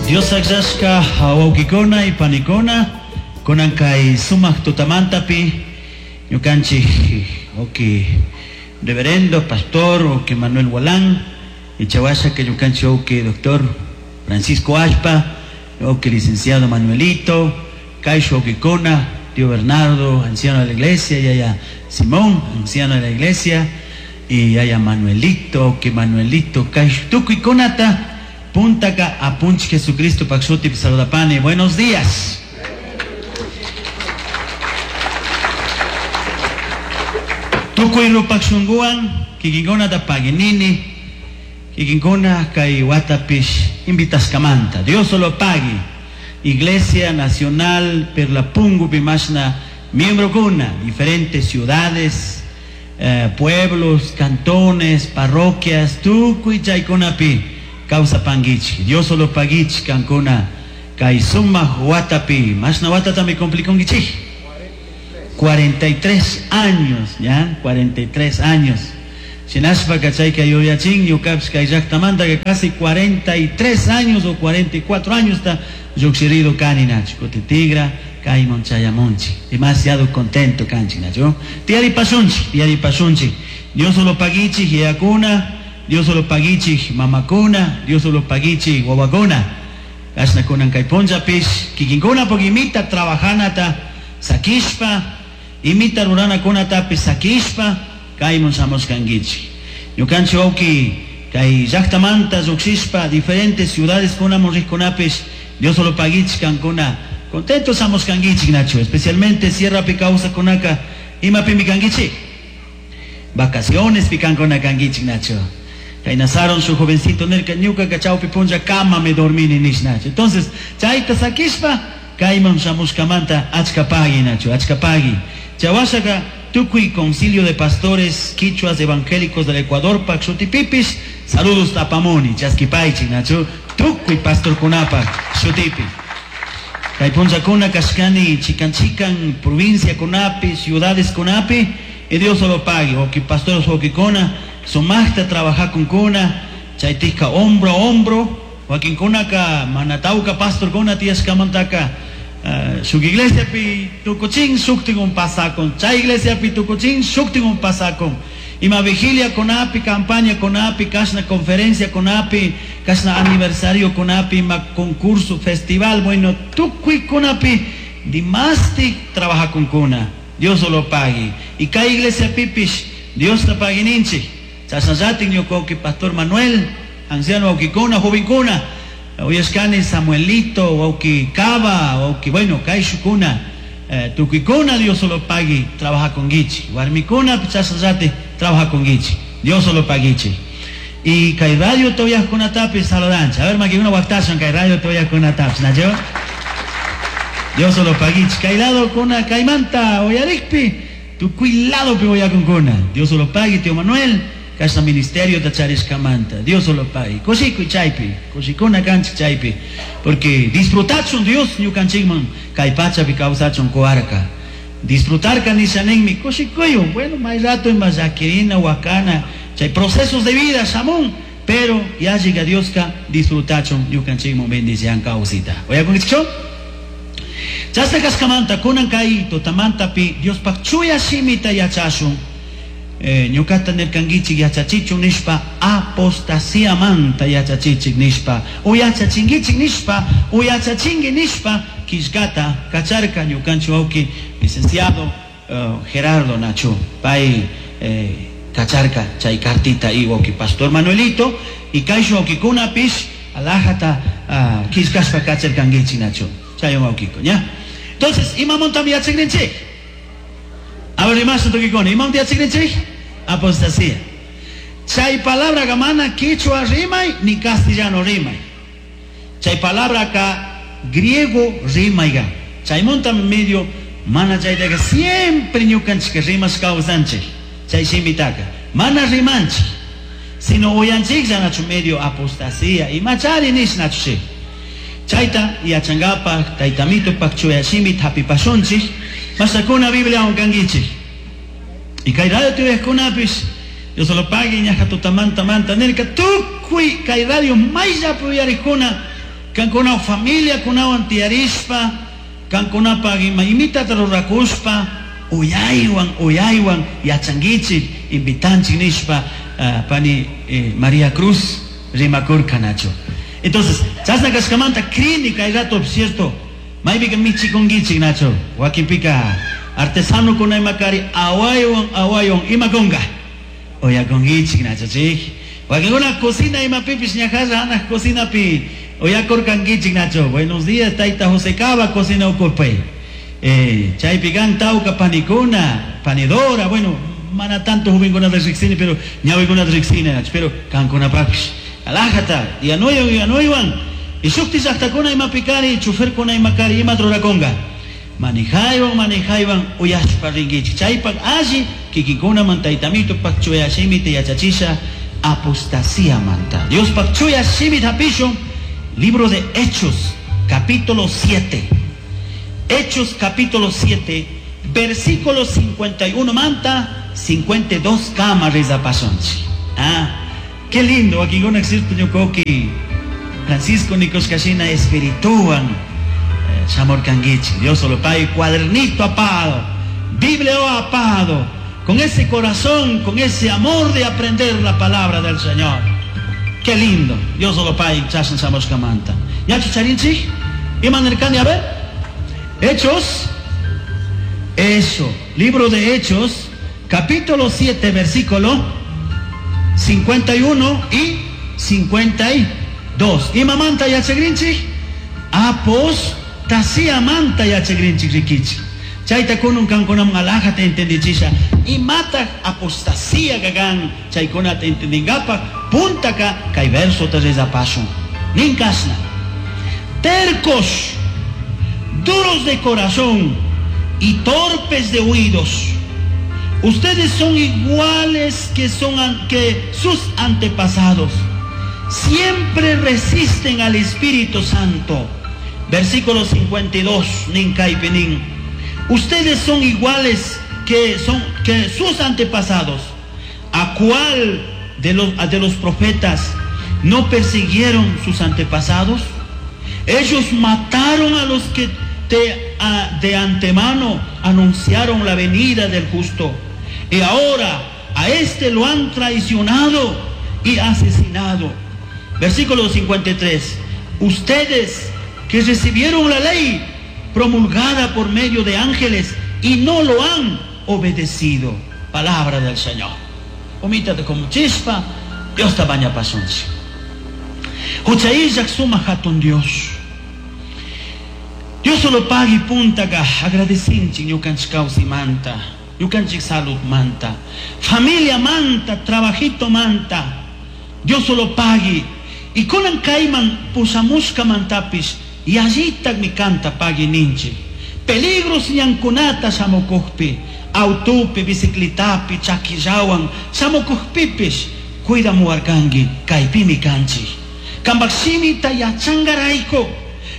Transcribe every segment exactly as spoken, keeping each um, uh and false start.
Dios akllashka wawkikuna y panikuna kunan kay sumak tutamantapi ñukanchik wawki reverendo pastor wawki Manuel Walán y chawasha que ñukanchik wawki doctor Francisco Ashpa wawki licenciado Manuelito kaysh wawkikuna tío Bernardo anciano de la iglesia yaya Simón anciano de la iglesia y yaya Manuelito wawki Manuelito kaysh tukuykunata puntaka apunchik Jesucristo paj shutipi saludapani. Buenos días. Tukuy rupak shunguwan kikinkunata paginini kikinkuna kay watapish invitaskamanta. Dios solo pagui. Iglesia Nacional Perlapungu pimashna miembrokuna diferentes ciudades, eh, pueblos, cantones, parroquias, tukuy chaykunapi causa panguichi. Dios solo paguichi kankuna kay sumak watapi. Mashna watata mi cumplikunkichik? cuarenta y tres años, ya, cuarenta y tres años. Shinashpa kachayka yuyachin ñukapish kay llaktamanta que casi cuarenta y tres años o cuarenta y cuatro años ta lluqshirido kani nachu. Kuti tigra kayman chayamunchik. Demasiado contento kanchik nachu. Tiyaripashunchik, tiyaripashunchik. Dios solo paguichik yayakuna, Dios solo paguichik mamakuna, Dios solo paguichik wawakuna. Kashna kunan kay punllapish kikinkuna imita trabajanata sakishpa, imita ruranakunatapish sakishpa kayman shamushkankichik. Ñukanchik wawki kay llaktamanta lluqshishpa diferentes ciudades kunamun riqkunapish Dios solo paguichik kankuna contentos shamushkankichik nachu, especialmente sierrapi kawsakunaka imapimi kankichik vacaciones pikankuna kankichik nachu. Kay nasaron su jovencito nirka ñuka chawpi punlla kama me dormini nish nachu. Entonces chayta sakishpa kayman shamushkamanta achka pagui nachu, achka pagui. Chawashaka tukuy concilio de pastores quichuas evangélicos del Ecuador pak shutipipis saludos tapamuni chaskipaychik nachu tukuy pastorkunapaq shutipi. Kay punllakuna kashkani chikan chikan provincia kunapi ciudades kunapi y Dios solo pague wawki pastores wawkikuna sumaqta trabajakunkuna chaytikka hombro a hombro wakinkunaka mana tawka pastorkuna tiyashkamantaka uh, shuk iglesiapi tukuchin shuktin pasakun chay iglesiapi tukuchin shuktin pasakun ima vigilia kunapi campaña kunapi kashna conferencia kunapi kashna aniversario kunapi ima concurso festival bueno tukuy kunapi dimasti trabajakunkuna Dios solo pague y kay iglesia pipish Dios ta paguininchik chasnallatin ñuka wawki pastor Manuel anciano wawkikuna jovenkuna uyashkani Samuelito wawki Cava wawki bueno kayshukuna eh, tukuykuna Dios solo pagui trabajakunkichik warmikuna chasnallati trabajakunkichik Dios solo paguichik y kay radio toyajkunatapis saludanchik a ver makikuna waqtashun kay radio toyajkunatapis nachu Dios solo paguichik kay lado kuna kaymanta uyarikpi tukuy ladopi uyakunkuna Dios solo pagui tío Manuel kashna ministerio tacharishkamanta Dios solo pagui kushikuy chaypi kushikuna kanchik chaypi porque disfrutachun Dios ñukanchikman kay pachapi kawsachun kuwarka disfrutarka nishaninmi kushikuywan bueno may rato ima llakirina wakana chay procesos de vida shamun pero ya llega Dioska disfrutachun ñukanchikman bendician kawsita uyakunkichikchu chashna kashkamanta kunan kay tutamantapi Diospaq chuya shimita yachashun eh, ñukata nirkankichik yachachichun nishpa apostasiamanta yachachichik nishpa uyachachinkichik nishpa uyachachinki nishpa killkata kacharka ñukanchik wawki licenciado uh, Gerardo Nachu pay eh, kacharka chay cartita y wawki pastor Manuelito y kaysh wawkikunapish alajata uh, killkashpa kacharkankichik Nachu chay wawkiko ña. Entonces imamantami yachakrinchik a ver imasha tukikuna imamanta yachakrinchik apostasía chay palabra mana quichua rimay ni castellano rimay chay palabra ka griego rimayga chaymuntami medio mana chaytaqa siempre ñukanchik rimash kawsanchik chay shimitaka mana rimanchik sino uyanchiklla nachu medio apostasía imachari nish nachu chayta yachankapaq taytamitupaq chuya shimita hapipashunchik masakuna Bibliawan kankichik y kay radio tuyaqkunapish Dios solo pagui ñaja tutamanta manta nirka tukuy kay radio mayllapi uyariqkuna Kankuna familia kunawan tiyarishpa, kankunapaq ima imitata rurakushpa, uyaywan uyaywan yachankichik, invitanchik nishpa, uh, pani eh, María Cruz rimakurka nachu. Entonces, chasna kashkamanta crini kay rato, cierto, maypika michikunkichik nachu, wakinpika artesano kuna imakari awaywan awaywan ima kunga, uyakunkichik nachu chik. Wakinkuna cocina imapipish ñajalla anaj cocinapi uyakurkankichik nachu. Buenos días, tayta José Cava, cocina ukupay. Eh, chaypi kan tawka panikuna, panidora, bueno, mana tanto jovenkunata riqsini, pero ñawikunata riqsini nachu, pero kankunapaqpish. Alajata, yanuywan yanuywan. Y shukti llaqtakuna imapikari, choferkuna imakari, ima rurakunga. Manejaywan, manejaywan, uyashpa rinkichik. Chaypak alli, kikinkunaman taytamitupak chuya shimita yachachisha, apostasía manta. Diospaq chuya shimita hapishun, libro de Hechos, capítulo siete. Hechos capítulo siete, versículo cincuenta y uno manta, cincuenta y dos kama rezapashunchik. Ah, qué lindo, aquí con existe ñukoki Francisco Nikoskashina espirituan, eh, shamorkangichi. Dios solo pague cuadernito apado, Biblia apado, con ese corazón, con ese amor de aprender la palabra del Señor. Qué lindo. Dios solo pague chashan shamoshkamanta. ¿Ya chucharinchik? Iman a ver. Hechos, eso, libro de Hechos, capítulo siete, versículo cincuenta y uno y cincuenta y dos. Imamanta yachagrinchik? Apostasía manta yachagrinchik rikichik. Chayta kunun kankunam alajata entendichisha. Imata apostasía gagan chaykunata entendingapa puntaka kay verso te rezapashun. Ninkasna. Tercos, duros de corazón y torpes de oídos. Ustedes son iguales que son an-, que sus antepasados. Siempre resisten al Espíritu Santo. Versículo cincuenta y dos, nin kaipenin. Ustedes son iguales que son que sus antepasados. ¿A cuál de los, de los profetas no persiguieron sus antepasados? Ellos mataron a los que de, a, de antemano anunciaron la venida del justo. Y ahora a este lo han traicionado y asesinado. Versículo cincuenta y tres. Ustedes que recibieron la ley promulgada por medio de ángeles y no lo han obedecido. Palabra del Señor. Omítate como chispa, Dios te baña pasonchi. Huchaillak suma hatun Dios. Dios solo paga y punta ka agradecinchi ñukanchik kawsimanta, ñukanchik salud manta, familia manta, trabajito manta. Dios solo pagui. Y kunan kayman pusamushka mantapis, y allitak mi canta pagui ninchi. Peligros ñankunata shamukuqpi, autupi, bicicletapi, chaquillawan, shamukuqpipis, cuidamuwarkanki, kaypimi kanchik. Kambaq shimita yachangarayku,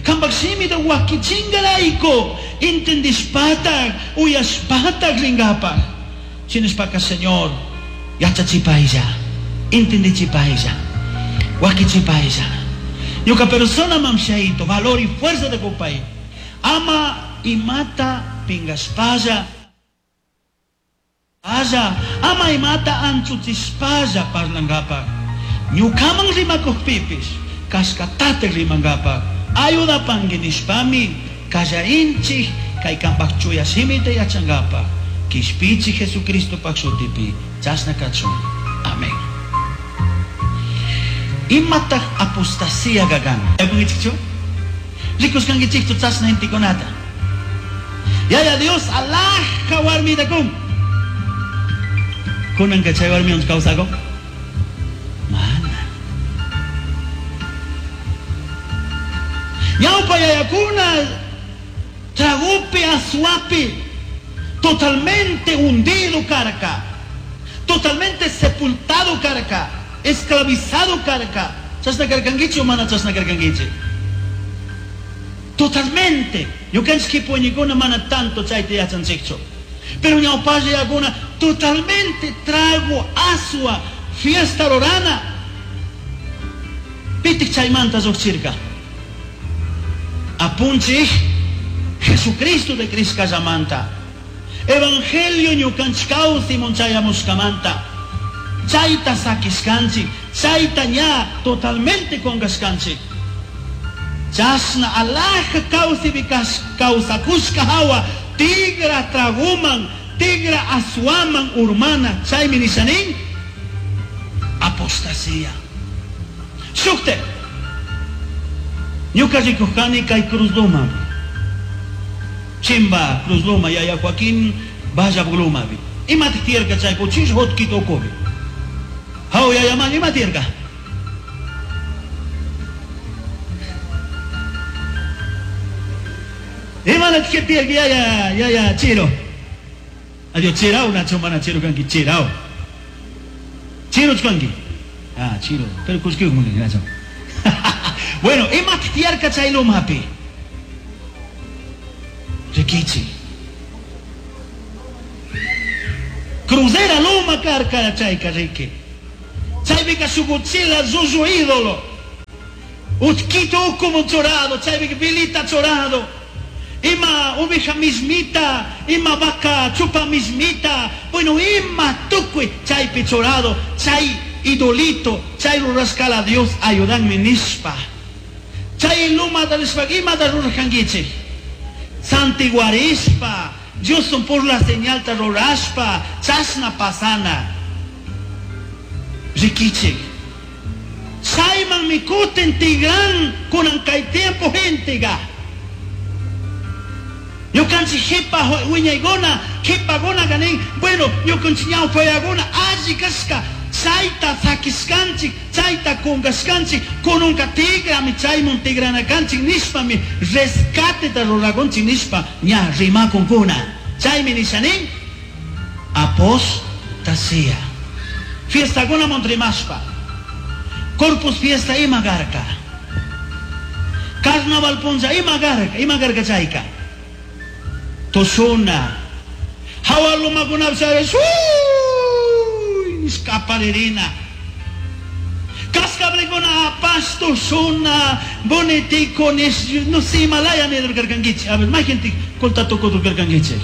kambaq shimita wakichingarayku, entendishpataq, uyashpataq ringapaq. Shinashpaka, Señor, yachachipaylla, entendichipaylla, wakichipaylla. Ñuka persona mamshaito, valor y fuerza de kupay. Ama y mata pingaspalla. Aya, ama y mata anchuchispalla parlangapa. Ñukaman rimakuqpipis, kashkatate rimangapa. Ayuda panguinishpami, kallarinchik, kay kampaq chuya shimita yachangapa. Kishpichi Jesucristo paq shutipi, chasna kachun. Amén. Imataq apostasía gagan. ¿Yakunkichikchu? Rikuskankichikchu chasna hintikunata. Yaya Dios alhaja warmitakun. Kunanka chay warmiwan kawsakun? Mana. Ñawpa yayakuna tragupi asuapi totalmente hundido karka, totalmente sepultado karka, esclavizado karka. Chasna karkankichi o mana chasna karkankichi? Totalmente. Ñukanchik kipuñikuna mana tanto chayta yachanchikchu. Pero ñawpalla yakuna totalmente trago, asua, fiesta rurana. Pitik chaymanta lluqchirka. Apunchij Jesucristo de Cristo Evangelio ñukanchik kawsaymun chayamushkamanta. Chayta sakishkanchik, chayta ña totalmente qungashkanchik. Chashna alaja kawsaypi kawsakushka hawa tigra traguman, tigra aswaman urmana, chaymi nishanin apostasía. Shukte, ñuka rikujkani kay Cruz Loma. Chimba Cruz Loma, yaya Joaquín Vaya Blumabi. Imatik tiyarka chay kuchish hotkito ukubi. Haw yaya man ima tiyarka? Ima tiyarka yaya yaya chiro. Adiós chirao nacho mana chiro kanki chirao. Chiro kanki. Ah, chiro, pero kushki muni nacho. Bueno, ima tiyarka chay lumapi. Rikichi. Cruzera luma karka chayka riki. Chaypika shukuchila llullu ídolo. Utkito como chorado, chaypika vilita chorado. Ima oveja mismita, ima vaca chupa mismita. Bueno, ima tukuy chaypi chorado, chay idolito, chay rurashkala Dios ayudanme nishpa. Chay luma rishpa imata ruraskankichik. Santiguarishpa, Dios son por la señal ta rurashpa, chashna pasana. Rikichik. Chayman mikutin tigran kunan kay tiempo gentega. Ñukanchik jipa wiñaykuna, jipaguna ganin, bueno, ñukanchik ñawpayaguna alli kashka, chayta sakishkanchik, chayta qungashkanchik, kununka tigrami chaymun tigranakanchik nishpami rescateta rurakunchik nishpa ña rimakunkuna. Chaymi nishanin apostasía. Fiestakuna rimashpa. Corpus fiesta ima garka. Carnaval punlla ima garka, ima garka chayka. Tushuna. Hawa lumakuna sharesh. Escaparirina. Cascablecuna apash tushuna. Bonitico nish no sé Himalaya ni durgarkangichi. A ver, más gente colta toko durgarkangichi.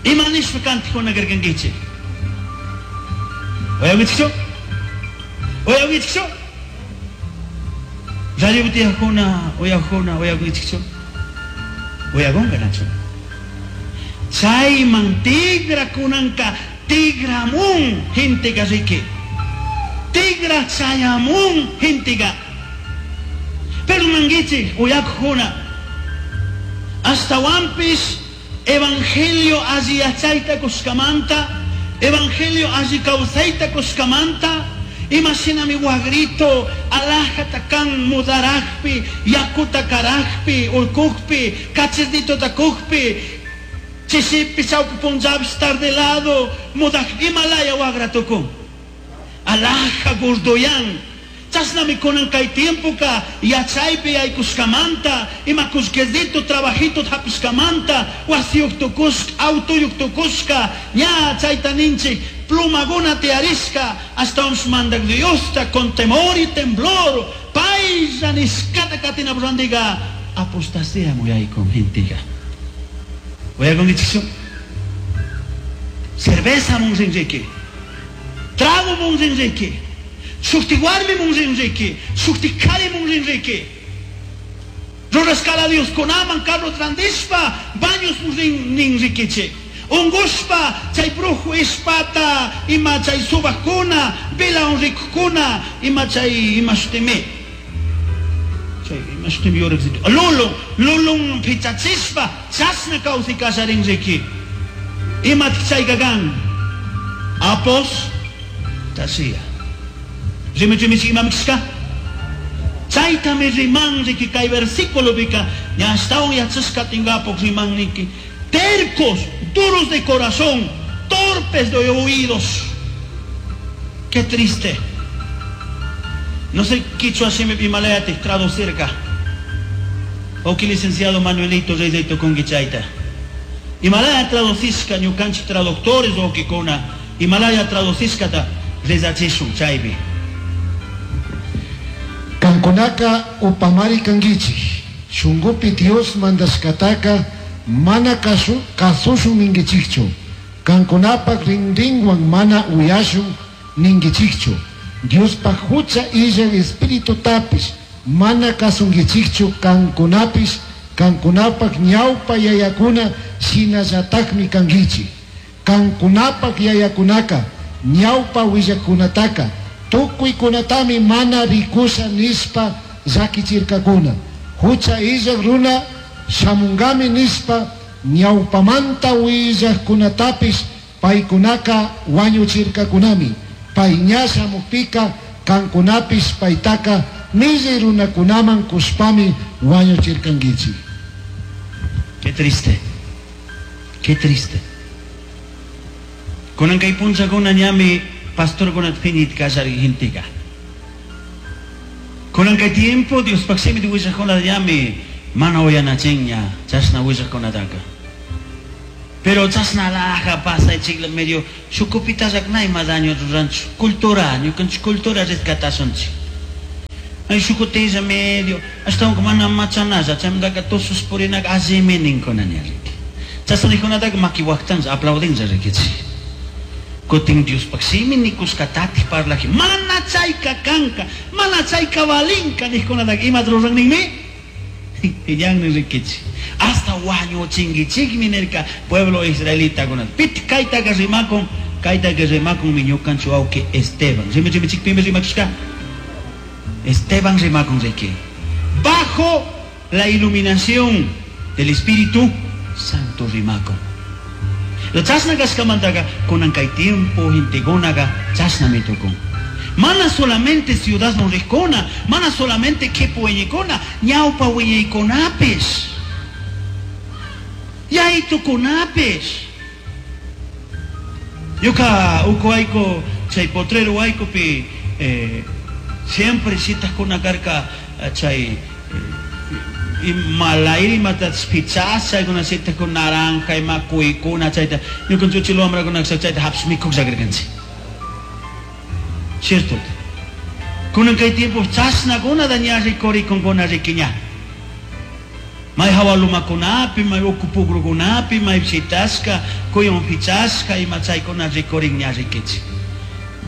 Ima nish kantikuna garkangichi. Oyawichikchu? Oyawichikchu? Radio butiajuna, oyajuna, oyawichikchu? Oyagonga nacho. Chayman tigra kunanka tigramun gentega riki. Tigra chayamun gentega. Pero nangichi oyakjuna. Hasta wampis evangelio alli yachayta kushkamanta, evangelio alli kawsayta kushkamanta, imashinami wagrito alajata kan mudarajpi, yakuta karajpi, urkujpi, kachisdito takujpi, chishipi chawpi punllapi estar de lado, mudaj Himalaya wagratukun. Alaja gordoyan. Chasnami kunan kay tiempoka yachaypi yaykushkamanta, ima kushquecito trabajito hapishkamanta, wasiyuq tukushka, autoyuq tukushka, ña chayta ninchik, plumaguna tiyarishka, hasta un mandak Diosta con temor y temblor, paylla nishkata katina randiga, apostasía muyaykun gentiga. Oyakunkichikchu? Cerveza munrinriki, trago munrinriki, shukti warmi munrinriki, shukti kari munrinriki. Rurashkala Dios kunaman carro trandishpa, baños munrinrikichik. Ungushpa, chay brujo ispata, ima chay subakuna, vela unrikukuna, ima chay ima shutimi. Chay ima shutimi yorek. Lulun, lulun pichachishpa, chashna kawsay kasharinriki. Ima chay gagan. Apostasía. Rimi rimi ima mikshka. Chaytami rimanriki kay versículo bika, ñashtawan yachashka tingapok rimanniki. Tercos, duros de corazón, torpes de oídos. Qué triste. No sé quichua shimi Himalaya te traducirka. O que licenciado Manuelito Reyes Conguichaita. Himalaya traducisca ñukanchik traductores o que kona Himalaya traducisca ta rezachishun chaypi. Kankunaka upamari kankichik. Shungupi Dios mandashcataca mana casu- cazushun ninguichijchu. Cancunapaj rinrinhuan mana uyashun ninguichijchu. Diospaj jucha illaj Espiritutapish mana cazunguichijchu cancunapish cancunapaj ñaupa yayacuna shinallatajmi canguichij. Cancunapaj yayacunaca ñaupa huillajcunataca tucuicunatami mana ricusha nishpa llaquichircacuna. Jucha illaj runa shamungami nishpa ñaupamanta huillajcunatapish paicunaca huañuchircacunami. Pai ña shamujpica cancunapish paitaca millai runacunaman cushpami huañuchircanguichij. Qué triste. Qué triste. Kunan kay punchakuna ñami pastorkunata phiñit kallari genteqa. Kunan kay tiempo Diospaj shimita willajkunata ñami mana uyanachinña chashna willajkunataka. Pero chashna laja pasaychikla medio shukupitallak na ima daño ruranchu. Cultura, ñukanchik cultura rescatashunchik. Ay shukutilla medio, ashtawanka mana machanalla, chaymantaka tusus purinaka allimi ninkuna ña riki. Chashna nijkunataka maki waqtanlla aplaudinlla rikichik. Kutin Diospaj shimi nikushkatatik parlaji, mana chayka kanka, mana chayka valinka nijkunataka imata ruran ninmi? Piñanmi rikichik. Hasta wañuchinkichikmi nirka pueblo israelitakunata. Piti kaytaka rimakun, kaytaka rimakunmi ñukanchik wawqi Esteban. Rimichimichik pimi rimakushka? Esteban rimakun riki. Bajo la iluminación del Espíritu Santo rimakun. La chashna kashkamantaka kunan kay tiempo gentekunaqa chashnami tukun. Mana solamente ciudad rijkuna, mana solamente kipu wiñaykuna, ñawpa wiñaykunapish. Yaytukunapish. Ñuka uku wayku chay potrero waykupi eh, siempre shitajkuna karka chay eh, malayri imatapish pichasha chaykuna shitajkuna naranja ima kuykuna chayta ñukanchik uchila wamrakuna chayta hapish mikuq llakirkanchik. Cierto. Kunan kay tiempo chashnakuna ña rikurikunkuna riki ña. May hawa lumakunapi, may uku pugrukunapi, may shitashka, kuyun pichashka, ima chaykuna rikurin ña rikichik.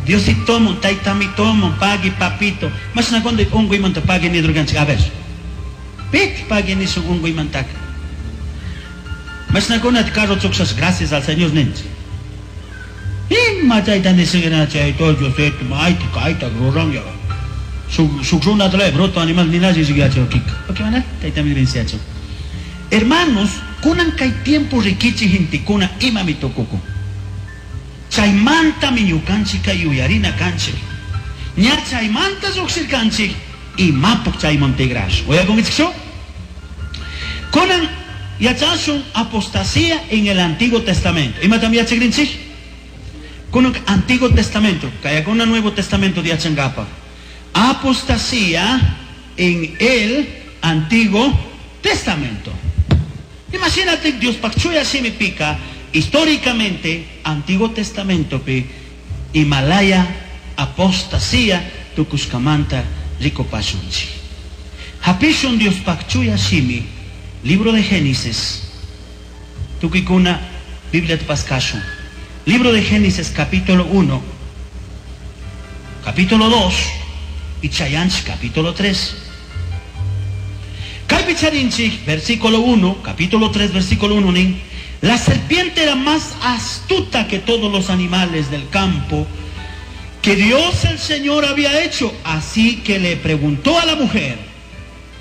Diositomun, taytamitomun, pagui papito. Mashna cuando unguymanta pagui nidurkanchik, a ver. Pit pagui nishun unguymantaka. Mashnakunata carro chuqshas, gracias al Señor ninchik. Ima chayta nishun chay todo Diosito, mayta kayta ruran ya. Shuk shuk runata bruto animal ninashi yachaw kika. Ok, mana taytami venceacho. Hermanos, kunan kay tiempo rikichi gentekuna imami tukukun. Chaymantami ñukanchik kay yuyarina kanchik. Ña chaymanta lluqshirkanchik imapuk chayman tigrashun. Uyakunkichikchu? Kunan yachashun apostasía en el Antiguo Testamento. Imatam yachakrinchik? Kunan Antiguo Testamento, kayakuna Nuevo Testamento yachankapak. Apostasía en el Antiguo Testamento. Imagínate Dios chuya shimipika históricamente Antiguo Testamento pi Himalaya apostasía tukushkamanta rikupashunchik. Hapishun Dios chuya shimi, libro de Génesis, tukikuna Biblia paskashun. Libro de Génesis capítulo uno, capítulo dos y chayanchik capítulo tres. Kaypi charinchik, versículo uno, capítulo tres, versículo uno, nin, la serpiente era más astuta que todos los animales del campo que Dios el Señor había hecho. Así que le preguntó a la mujer,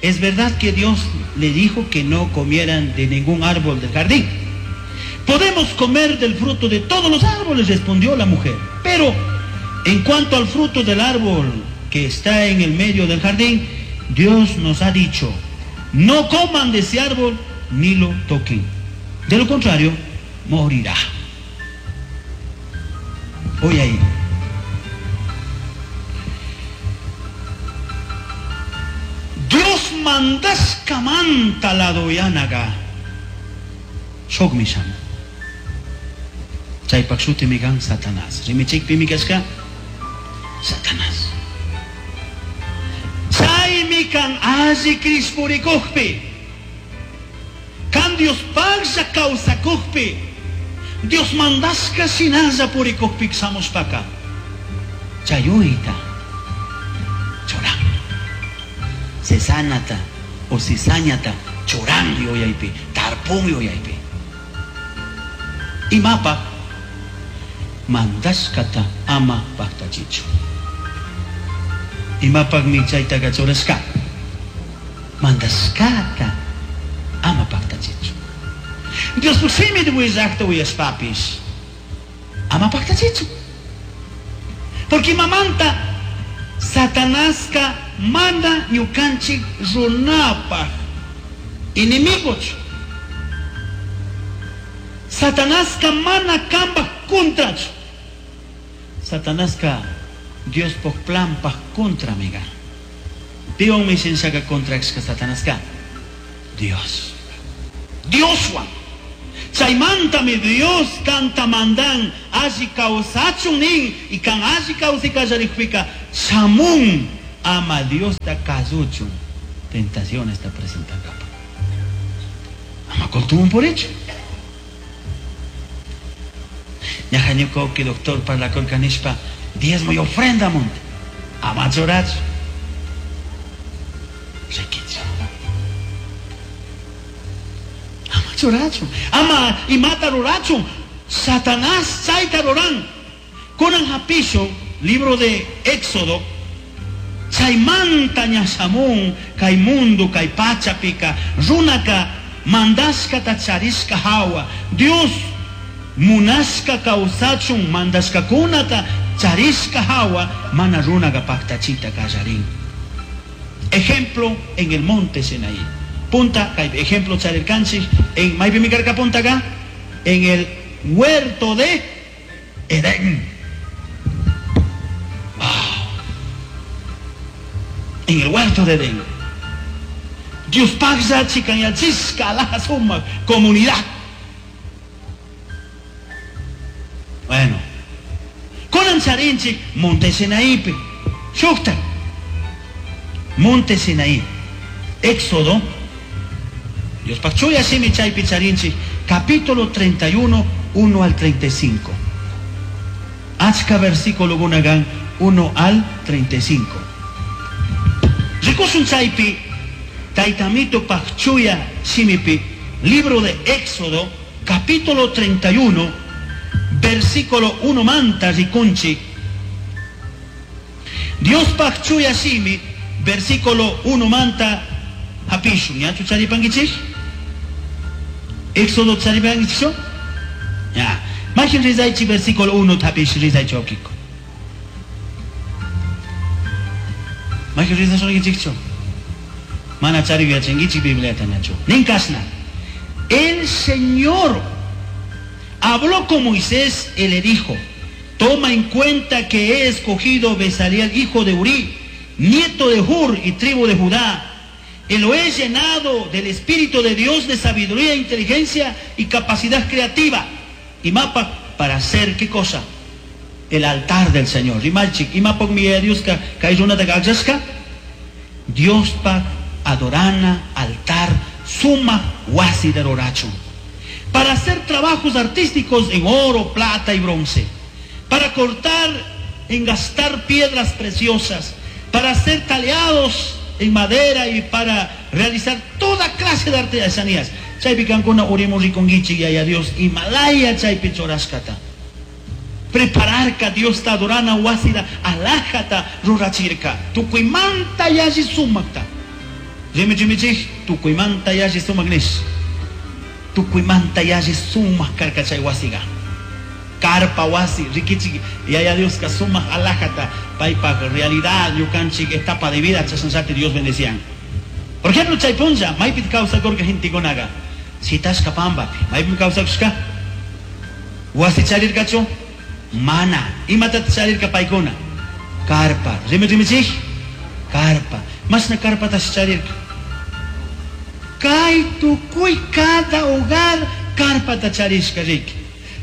¿es verdad que Dios le dijo que no comieran de ningún árbol del jardín? Podemos comer del fruto de todos los árboles, respondió la mujer. Pero en cuanto al fruto del árbol que está en el medio del jardín, Dios nos ha dicho, no coman de ese árbol ni lo toquen. De lo contrario, morirá. Hoy ahí. Dios mandaskamanta la doyanaga. Shogmisham. Chaypak shutimi kan Satanás. Rimichikpimi kashka Satanás. Chaymi kan alli krispurikukpi. Kan Dios paglla kawsakukpi, Dios mandashka shinalla purikukpi shamushpaka chayuyta churan. Cizañata o cizañata churan yuyaypi, tarpun yuyaypi. Imapaj mandashkata ama paktachichu. Imapajmi chaytaqa churashka? Mandashkata ama paktachichu. Dios shimi willaqta uyashpapish ama paktachichu. Porque imamanta Satanaska mana ñukanchik runapaj enemigochu. Satanaska mana kambaj contrachu. Satanaska Diospaj planpaj contra amiga. Piwanmi shinshaka contrashka Satanaska? Dios. Dioswan. Chaymantami Dios kanta mandan alli kawsachun nin y kan alli kawsay kallarikpika shamun ama Diosta kasuchun tentaciones ta presentankapa. Ama kultumun purichu. Ñaja ñuka doctor parlakurka nishpa diezmo y ofrenda monte. Ama churachu. Rikichu. Ama churachu. Ama imata rurachun. Satanás chayta ruran. Kunan hapishun, libro de Éxodo, chaymanta ña shamun kay mundo kay pachapika runaka mandashkata charishka hawa Dios munashka kawsachun mandashkakunata charishka hawa mana runaka paktachita kallarin. Ejemplo en el monte Sinaí. Punta, kay ejemplo charirkanchik en maypi karka punta acá en el huerto de Edén. Wow. En el huerto de Edén. Dios pagsa chikanyachisca la suma comunidad. Bueno, kunan charinchik Monte Sinaípi. Shukta. Monte Sinaí. Éxodo. Dios pagchuya shimi chaypi charinchik capítulo treinta y uno, uno al treinta y cinco. Achka versículo gunagan uno al treinta y cinco. Rikusun chaypi Taitamito pagchuya shimipi, libro de Éxodo, capítulo treinta y uno, versículo uno manta rikunchik. Dios pagchuya shimi, versículo uno manta hapishun. ¿Ya charipangichik? Éxodo charipangichik? Ya. Majin rizaichi versículo uno tapish rizaichi okiko. Majin rizaichi Mana chari yachankichik Bibliata nacho. Ninkasna. El Señor habló con Moisés y le dijo: toma en cuenta que he escogido Bezaleel, hijo de Uri, nieto de Hur y tribu de Judá, y lo he llenado del Espíritu de Dios de sabiduría, inteligencia y capacidad creativa. Y mapa para hacer qué cosa? El altar del Señor. Y malchik, y mapa mi Dios ka de Dios pa adorana altar suma wasi de roracho, para hacer trabajos artísticos en oro, plata y bronce, para cortar, engastar piedras preciosas, para hacer taleados en madera y para realizar toda clase de artesanías. Chaypi kankuna urimu rikunkichik yaya Dios Himalaya chaypi churashkata. Prepararka Dios ta adorana wasida alajata rurachirka. Tukuymanta yalli sumakta. Rimi rimichik tukuymanta yalli sumak nish. Tukuymanta yalli sumak karka chay wasiga. Karpa wasi rikichik yaya Dios ka sumak alajata paypak realidad ñukanchik etapa de vida chashanllati Dios bendecían. Por ejemplo chay punlla maypi kawsakurka gentekunaqa sitashka pampapi maypi kawsakushka wasi charirkachu mana imatata charirka paykuna karpa rimi rimichik karpa mashna karpatash charirka kay tukuy cada hogar karpata charishka riki.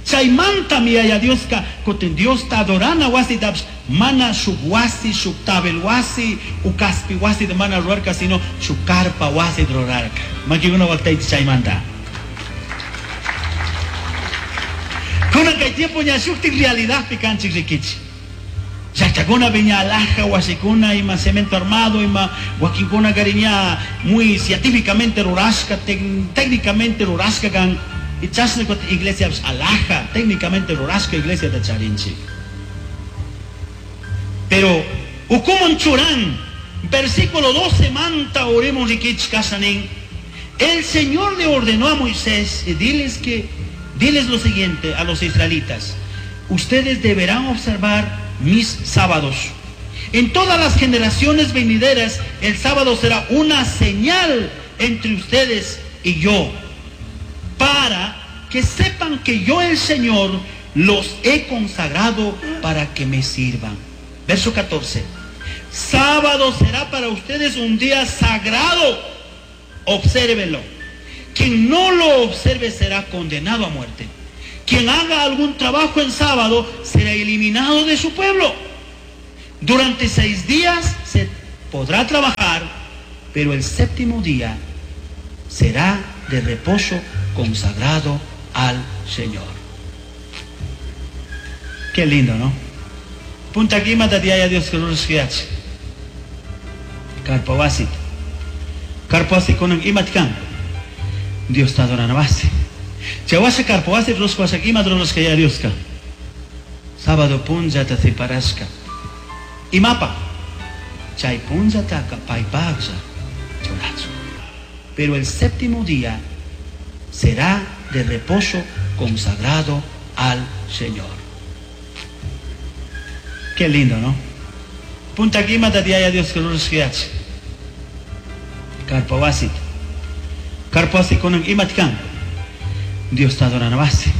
Chaymantami yaya Dioska kutin Diosta adorana wasitapish mana shuk wasi shuk tabel wasi u kaspi wasi de mana rurarka sino shuk karpa wasi rurarka. Makikuna waqtaychik chaymanta. Kunan kay tiempo ña shuktik realidadpi kanchik rikichik. Llaqtakuna ña alhaja wasikuna ima cemento armado ima wakinkuna ña muy científicamente rurashka técnicamente rurashka kan y chashna iglesia alhaja técnicamente rurashka iglesia de charinchik. Pero ukuman churan versículo doce manta oremos rikichik nin. El Señor le ordenó a Moisés y diles que diles lo siguiente a los israelitas: ustedes deberán observar mis sábados. En todas las generaciones venideras, el sábado será una señal entre ustedes y yo, para que sepan que yo, el Señor, los he consagrado para que me sirvan. Verso catorce. Sábado será para ustedes un día sagrado. Obsérvenlo. Quien no lo observe será condenado a muerte. Quien haga algún trabajo en sábado será eliminado de su pueblo. Durante seis días se podrá trabajar, pero el séptimo día será de reposo consagrado al Señor. Qué lindo, ¿no? Punta aquí mata Dios que Carpa wasit. Carpa wasi kunan imat kan. Dios ta adorana wasi. Chawasha carpa wasi rurashka washa ima rurashka ya Dioska. Sábado punllata separashka. Imapa. Chay punllataka paypaqlla churachu. Pero el séptimo día será de reposo consagrado al Señor. Qué lindo, ¿no? Punta aquí mata Dios que Carpa wasit. Carpa wasi kunan imat kan. Dios ta adorana wasi.